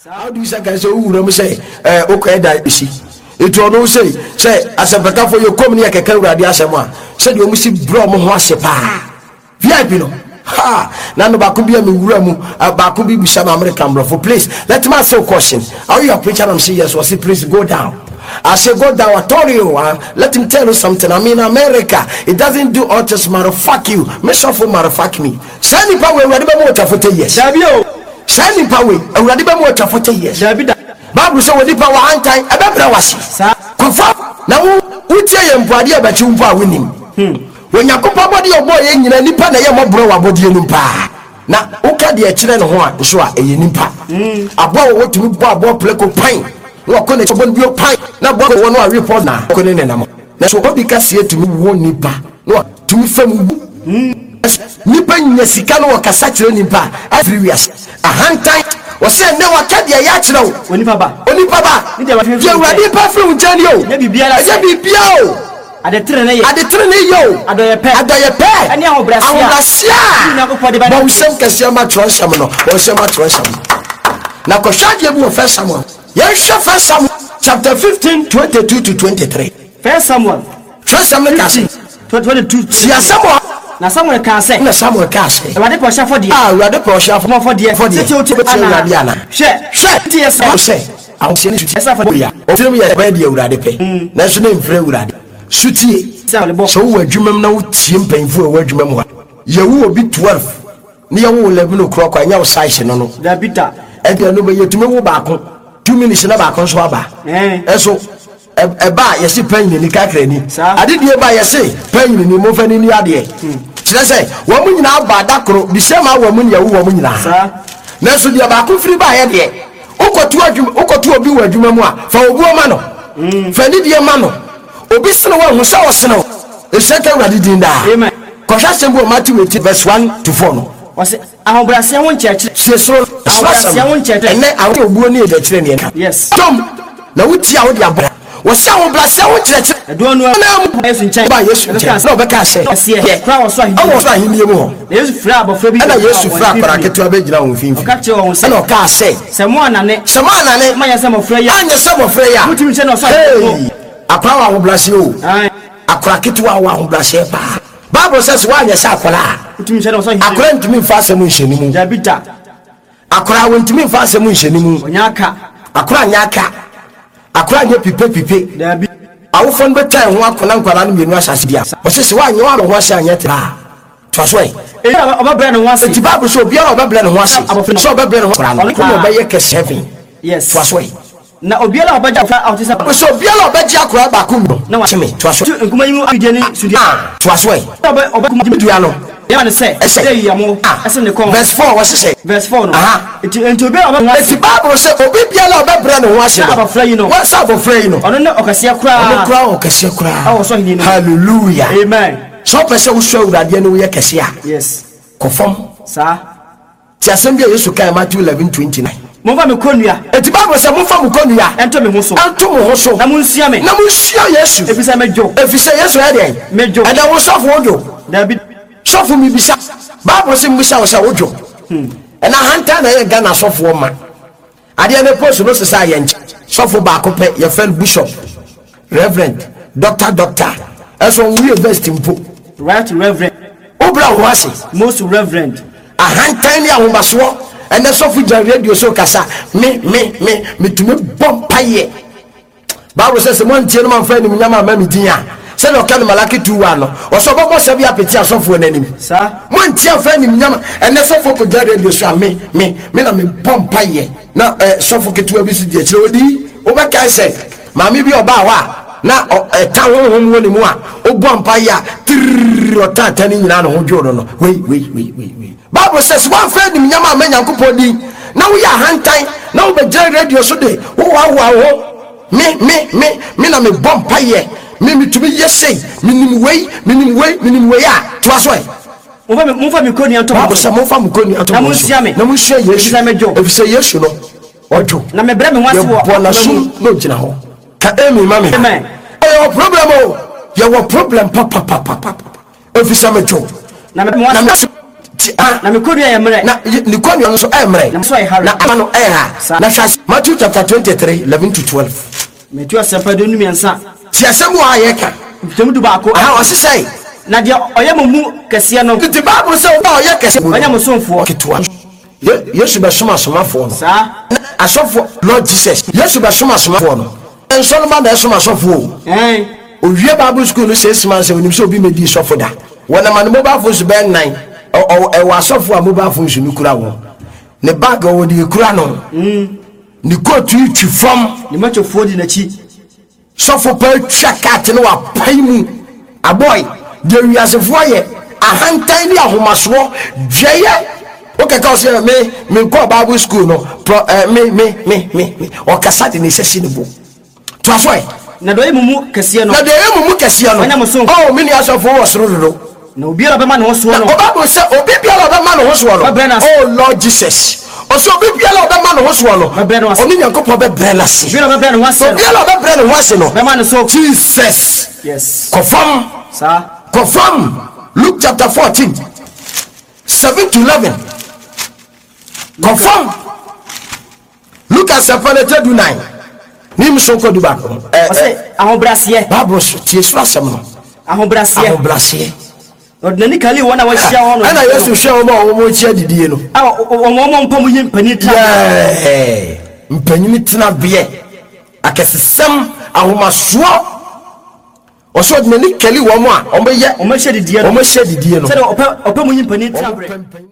How do you say kan sɛ wowura mu sɛ ɛɛ wokɔɛ da esi etu ɔno sɛ sɛ asɛmpɛkafo yɛ kɔm ne yɛ kɛkɛ awurade asɛm a sɛdeɛ wɔn si brɛ wɔn ho ase paa vip no ha na no baako bi a mi wura mu baako bi bisa ma American brɔfo, "Please, let me ask you a question. Are you a preacher?" I'm say, "Yes." Wɔsi, "Please go down." I say, "Go down." I told you, let me tell you something. I'm in America. It doesn't do autism, matter fuck you. Me suffer, matter fuck me. Saa nipa wei, Awurade bɛma wɔtwa 40 years. Dabi o. Saa nipa wei, Awurade bɛma wɔtwa 40 years. Dabi da. Bible sɛ wɔ nipa wɔ hantan ɛbɛbrɛ wase. Kɔfa na wo wotie yɛ mpo adeɛ ɛbɛkye wo mpo a wonim Onyankopɔn bɔdeɛ ɔbɔɔ yɛ nyina, nipa na ɛyɛ mmɔborɔ wɔ abɔdeɛ no paa. Na woka deɛ ɛkyerɛ ne ho a nso a, ɛyɛ nipa. Aboa wɔ wɔtumi bɔ aboa plɛko pan na wakɔ n'akyi bɔ no bio pan na aboa wɔ no awe pɔ na kɔ ne nenam. Na so obi kaseɛ tumi wɔ nipa na watumi fam wu. Nipa nya sika no, wɔkasa kyerɛ nipa a afiri wiase ahantan. Wɔsɛ nnɛ waka deɛ ɛyɛ akyerɛ wo. Onipa ba. Onipa ba. Ne deɛ deɛ Awurade pa firi wo nkyɛn ni o. Nyɛ biribiara sɛ. Ɛnyɛ biribiara o. Ade tenene yɛ. Ade tenene yɛ o. Adɔyɛ pɛ. Adɔyɛ pɛ. Ɛne ahobrɛaseɛ. Ahobrɛaseɛ a. Ne Onyankopɔn de ba ne bɔ nsɛm kɛseɛ ma twerɛnsɛm no, bɔ nsɛm ma twerɛnsɛm no. Na kɔhwɛ adeɛ bi wɔ First Samuel. Yɛnhwɛ First Samuel chapter 15 22 to 23. First Samuel. Twerɛsɛm no ka sɛ 22. Si asɛm a Na Samuel kaa sɛ. Na Samuel kaa sɛ. Awurade pɛ ɔhyɛ afɔdeɛ. A Awurade pɛ ɔhyɛ afɔdeɛ. Afɔdeɛ. Sɛ tie wotie wobɛtie Awurade ana? Hwɛ. Hwɛ. Tie sɛ. Sɛ ahoseɛ ne sutie Ɛsɛ afɔdeɛ. Ya ɔtirim yɛ bɛyɛ deɛ Awurade pɛ, nanso ne mfrɛ Awurade sutie. Sɛ ɔde bɔ. Sɛ wowɔ adwuma mu na wotie mpanyimfoɔ a ɛwɔ adwuma mu a, yɛwo obi 12 ne yɛwo 11 o'clock a, ɛnyɛ wo size no. Dabi da. Ɛdeɛ no bɛyɛ tumi wo baako 2 minutes na baako nso aba. Ɛso ɛba a, yɛse panyini kakrani. Adedie ba, yɛse panyini momfa no ni adeɛ. Kyerɛ sɛ wɔn mo nyinaa ba da koro, the same hour mu ne yɛwo wɔn mo nyinaa, nanso deɛ baako firi baayɛ deɛ wokɔto adwuma, wokɔto obi wɔ adwuma mu a, fa obuo ma no, fa nidie ma no. Obi sene wo ahu sɛ ɔsene wo. Ɛhyɛ ka Awurade din daa. Amen. Kɔhwɛ asɛm bi wɔ Matthew 18 verse 1 to 4 no. Wɔsɛ ahobrɛaseɛ ho nkyerɛkyerɛ. Sie soro soro asɛm. Ahobrɛaseɛ ho nkyerɛkyerɛ. Ɛnɛ awo obuo ne ɛkyerɛ neɛ ka. Tom na wotie a wode abɔ. Wɔsɛ ahobrɛaseɛ ho nkyerɛkyerɛ. Ɛdoɔ no na mu ba Yesu nkyɛn. Ba Yesu nkyɛn na ɔbɛka sɛ. Kɛseɛ kora wɔ so ahenni. Ɛwɔ soro ahenni mu hɔ. Na Yesu frɛ abɔfra bi. Ɛna Yesu frɛ akwadaa ketewa bɛgyina wɔn mfimfini. Ɔka kyerɛ wɔn sɛ. Ɛna ɔkaa sɛ. Sɛ mo anane. Sɛ mo anane. Mo anyɛ sɛ mmɔfra yi a. Anyɛ sɛ mmɔfra yi a. Motumi nhyɛ na ɔsoro ahenni mu. Hey, akwadaa wɔ ahobrɛaseɛ o. Akwadaa ketewa wɔ ahobrɛaseɛ paa. Bible sɛ woanyɛ sɛ akwadaa a. Motumi nhyɛ na ɔsoro ahenni mu. Akwadaa ntumi nfa asɛm nhyɛ ne mu. Dabi da. Akwadaa wɔntumi nfa asɛm nhyɛ ne mu. Ɔnyɛ aka. Akwadaa nyɛ aka. Akwadaa nyɛ pipe pipe. Dabi. Awofoɔ no bɛtwa ɛho akɔna nkwadaa no mmienu ahyɛ ase bia. Wɔsɛ sɛ woanyɛ woama ho ase anyɛ tra toa so ɛ. Eyi a ɔbɛbrɛ ne ho ase. Enti Bible sɛ obiara a ɔbɛbrɛ ne ho ase Abɔfra no. sɛ ɔbɛbrɛ ne ho akwadaa no Ɔno kɔna ɔbɛyɛ kɛse heaven. Toa so ɛ. Na obiara a ɔbɛgye abɔfra a ɔte sɛ. Sɛ obiara a ɔbɛgye akwadaa baako mu Na no kyeme. Toa so. Tu nkuma yi mu awidie ne sudua. Ah, toa so ɛ. Ɔbɛ ɔbɛ dua no. Yɛma ne sɛ. Ɛsɛ. Sɛ yiyamo. Ah. Ɛsɛ ne kɔn. Verse 4 wɔhyehyɛ. Verse 4 no. Aha. Enti obiara a ɔbɛbrɛ ne ho ase. Eti Bible sɛ obi biara a ɔbɛbrɛ ne ho ase Sɛ no. abɔfra yi no. Wɔn sɛ abɔfra yi no. Ɔno ne ɔkɛseɛ koraa. Ɔno koraa ɔkɛseɛ koraa. Ɛwɔ soro ahenni no mu. Hallelujah. Amen. Sɛ ɔpɛ sɛ wosɔ Awurade ani, woyɛ kɛse a, kɔ fam. Ti asɛm bi a Yesu kae, Matthew 11:29. Momfa me kɔnnua. Eti Bible sɛ momfa mo kɔnnua. Ɛnto me ho so. Ɛnto mo ho so. Na monsua me. Na monsua Yesu. Efisɛ medwo. Efisɛ Yesu yɛ deɛn? Medwo. Ɛnna wo sɔfo wodwo? Dabi. Sɔfo mibisa. Bible sɛ mbisa wo sɛ wodwo? Ɛna ahantan na ɛyɛ Ghana sɔfoɔ ma. Adeɛ ne post no sesa yɛn nkyɛn. Sɔfo baako pɛ yɛfrɛ no bishop, reverend, doctor, doctor. Ɛso ɔnwo university mpo. Right Reverend. Wobra wo ho ase. Most Reverend. Ahantan ne ahomasoɔ. Ɛnɛ sɔfo gyina radio so kasa, me me me metumi bɔ mpayɛ. Bible sɛ moantie no mamfa animuonyam amma me din a, sɛdeɛ ɔka no Malaki 2:1 no, ɔsɛ ɔbɛbɔ sɛ bi apete asɔfoɔ no anim. Moantie amfa animuonyam. Ɛnɛ sɔfoɔ kɔgyina radio so a, me me me na mebɔ mpayɛ. Na sɔfo ketewa bi so di akyire ɔdi. Wobɛkae sɛ maame bi ɔbaa hɔ a na ɛta honhom wɔ ne mu a ɔbɔ mpayɛ a tiriri ɔta ata ne nyinaa ne ho dwoo no. Wei wei wei wei wei. Bible sɛ sɛ woamfa animuonyam amma Nyankopɔn din na woyɛ ahantan na wobɛgyina radio so de wohoahoa wo ho, me me me me na mebɔ mpayɛ, me metumi yɛ sei, menim wei, menim wei, menim wei a, toa so ɛ. Momfa me kɔnnua nto mo Bible so. sɛ momfa mo kɔnnua nto Na mo so. monsua me. Na monsua Yesu. Efisɛ medwo. Efisɛ Yesu no ɔdwo. Na mebrɛ me ho ase wɔ Yɛbɔ akoma mu. n'asom na ogyina hɔ ka amen ma me. Amen. Ɛyɛ problem o, yɛwɔ problem papapapapa. Efisɛ medwo. Na mebrɛ me ho Na ase. me. Ti a. Na me kɔnnua yɛ mmerɛ. Na ne kɔnnua no nso ɛyɛ mmerɛ. Na me so ayɛ hare. Na ama no ɛyɛ ha. Saa. Na hwɛ ase. Matthew chapter 23, 11 to 12. Matthew asɛmpa 23. Ti asɛm wɔ a yɛka. Nkyekyɛmu 11. Aha, ɔse sɛe. Na deɛ ɔyɛ mo mu kɛseɛ no. Nti Bible sɛ obi a ɔyɛ kɛseɛ mu no. Ɔnyɛ mo somfoɔ. Ketewa. Yesu bɛsom asomafoɔ no. Saa. Na asɔfoɔ, Lord Jesus. Yesu bɛsom asomafoɔ no. Nsɔremma na ɛsom asɔfoɔ o. Ɛn. Owie Bible school no 6 months a, onim sɛ obi mmɛdii sɔfo da. Wɔnam a ne mobile phones bɛyɛ nnan. Ɛwɔ asɔfo a mobile phones no kura wɔn. Ne bag ɔwɔ deɛ ekura no. Ne coat yi twi fam. Ne matwofoɔ di n'akyi. Sɔfo pa atwa cut no wapae mu. Aboy, deɛ wiasefoɔ yɛ, ahantan ne ahomasoɔ, dwɛyɛ. Wokɛka wo sɛ me menkɔɔ Bible school no, pro, eh, me me me me me. Ɔkasa de ne nsa si ne bo. Toa so ɛ. Na deɛ ɔyɛ mo mu kɛseɛ no. Na deɛ ɔyɛ mo mu kɛseɛ no. Ɔnyɛ mo somfo. Oh, me nua asɔfo wɔ soro dodo. Na obiara a ɔbɛma ne ho soɔ no. Na Bible sɛ obi biara a ɔbɛma ne ho soɔ no. Ɔbɛbrɛ no ase. Oh Lord Jesus. Ɔsɛ obi biara a ɔbɛma ne ho soɔ no. Ɔbɛbrɛ no ase. Ɔne Nyankopɔn bɛbrɛ no ase. Obiara a ɔbɛbrɛ ne ho ase no. Obiara a ɔbɛbrɛ ne ho ase no. Bɛma ne so. Jesus. Yes. Kɔ fam. Saa. Kɔ fam. Luke chapter 14, 7 to 11. Kɔ fam. Luke asɛmpa no ɛtɛ 14 ne mu so nkɔ 11. Ɔsɛ ahobrɛaseɛ. Bible so tie soro asɛm no. Ahobrɛaseɛ. Ahobrɛaseɛ. Ɔde n'ani kali wɔn a wɔahyia hɔ no. Ɛna Yesu hwɛ wɔn a wɔn akyia didie no. A wɔn mpa mu yi mpanyin tena. Yɛɛ mpanyin tena beɛ akɛsesɛm ahomasoɔ. Ɔsɛ ɔde n'ani kali wɔn a wɔn bɛyɛ. Wɔn ahyia didie no. Wɔn ahyia didie no. Sɛdeɛ ɔpɛ mu yi mpanyin tena Wɔn berɛ. pɛ mpanyin.